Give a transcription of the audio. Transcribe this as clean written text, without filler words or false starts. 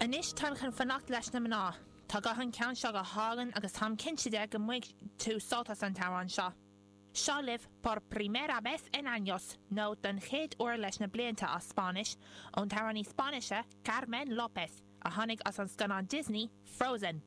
Anois táim chun fanacht leis na mná. Tá guth an ceann seo go hálainn agus táim cinnte de go mbainfidh tú sult as an t-amhrán seo. Seo libh Por Primera Vez en Años, nó Don chéad uair leis na blianta as Spáinnis, ón t-amhránaí Spáinnise Carmen López, a tháinig as an scannán Disney, Frozen.